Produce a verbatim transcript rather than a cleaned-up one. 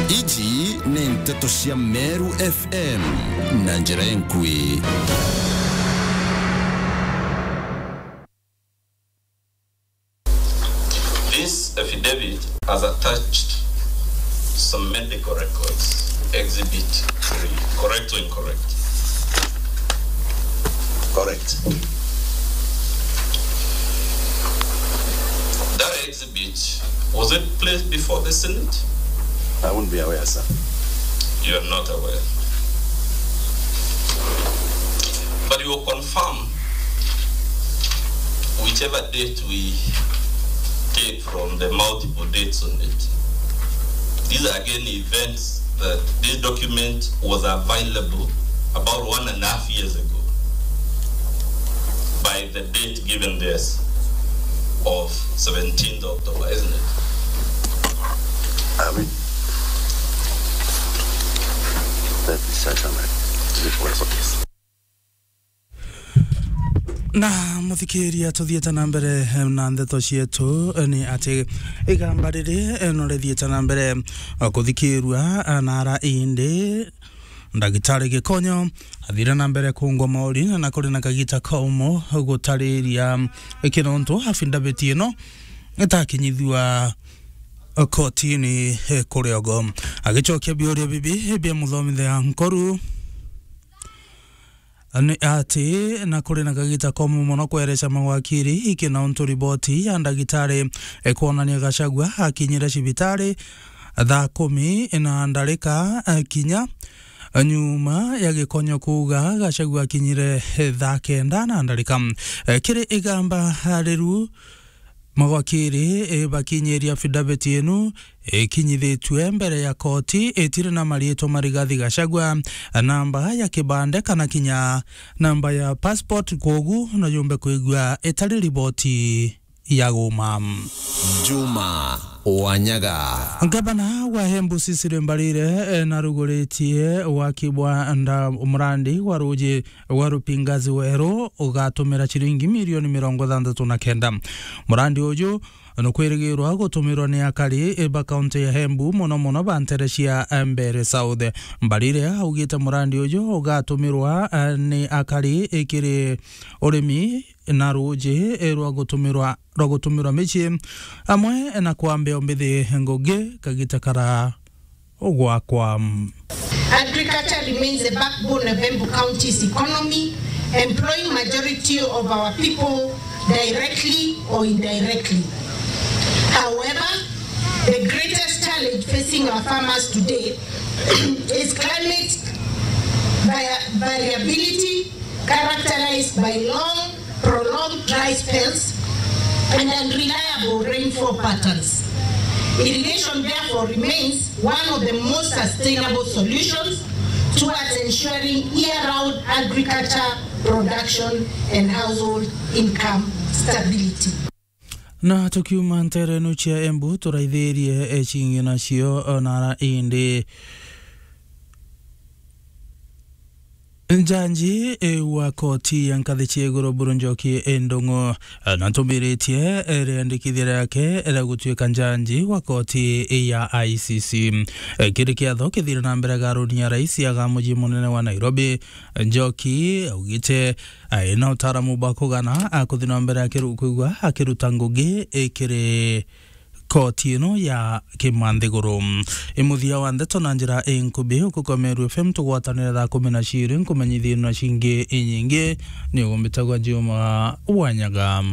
Iji ni nteto cia Meru F M na njira enkui. This affidavit has attached some medical records, Exhibit three. Correct or incorrect? Correct. That exhibit, was it placed before the Senate? I wouldn't be aware, sir. You are not aware. But you will confirm whichever date we take from the multiple dates on it. These are again events that this document was available about one and a half years ago by the date given there of seventeenth October, isn't it? I mean, that is such a, is it possible? Na muthikiria, tuthiite na mbere, eh, na ndeto cietu, eh, ni ati igamba riri, eh, no rithiite na mbere, eh, kuthikirua, eh, na ara indi ndagitari Gikonyo athire na mbere kungwa mauri, na kuri na kagita kaumu gutariria, eh, kinontu affidavit ino itakinyithua, eh, kotini, eh, kuri ogo. Agicokia biuria bibi, eh, bia muthomithia nkoru, ni ati na kuri na kagita komu mono kwereca mawakiri iki na untu riboti ya ndagitari ikwonania Gachagua akinyire cibitari thaa kumi na ndarika, eh, kinya nyuma ya Gikonyo kuuga Gachagua akinyire, eh, thaa kenda na ndarika. Eh, kiri igamba riru, mawakiri, eh, bakinyiria affidavit inu ikinyithitue mbere ya koti itiri na mariitwa ma Rigathi Gachagua, namba ya kibande kana kinya namba ya passport, kwogu no yumbe kwigua itari riboti ya guma. Juma Wanyaga. Ngavana wa Embu Cecily Mbarire, eh, naruguritie waki bwa nda-, murandi wa ruuji wa Rupingazi Weru ugatumira ciringi milioni mirongo ithantatu na kenda. Murandi uju nukwirigirwa gutumirwa ni akari ba kaunti ya Embu, mono mono ba ntere cia Mbeere South. Mbarire augite murandi uju ugatumirwa, eh, ni akari ikiri urimi na ruuji, eh, rwa gutumirwa, rwa gutumirwa micii, amwe na kwambia umbithi ngugi kagita kara ugwakwa. Agriculture remains the backbone of Embu County's economy, employing majority of our people directly or indirectly. However, the greatest challenge facing our farmers today is climate vari-, variability, characterized by long, prolonged dry spells and unreliable rainfall patterns. Irrigation, therefore, remains one of the most sustainable solutions towards ensuring year-round agriculture production and household income stability. Na tukiuma nterenu cia Embu, turaithirie, eh, cingi nacio, eh, nara indi. Njanji, eh, wa koti ya nkathi cia iguru Buru Njoki Ndung'u, eh, natumbiritie, eh, riandikithia riake ria gutuika njanji wa koti ya I C C. Eh, kiri kiatho kithire na mbere garuni ya rais aga mucii munene wa Nairobi, Njoki augite, eh, ena utaaramu bwa kugana, a kuthi na mbere akiru-, kwigua akiruta ngugi, eh, kiri koti ino ya kimanthiguru. I muthia wa ndeto na njira inkubi, uku kwa Meru F M tugwatanire thaa kumi na ciiri, nkumenyithie na cingi inyingi, ni ugumbitagwa Juma Wanyaga.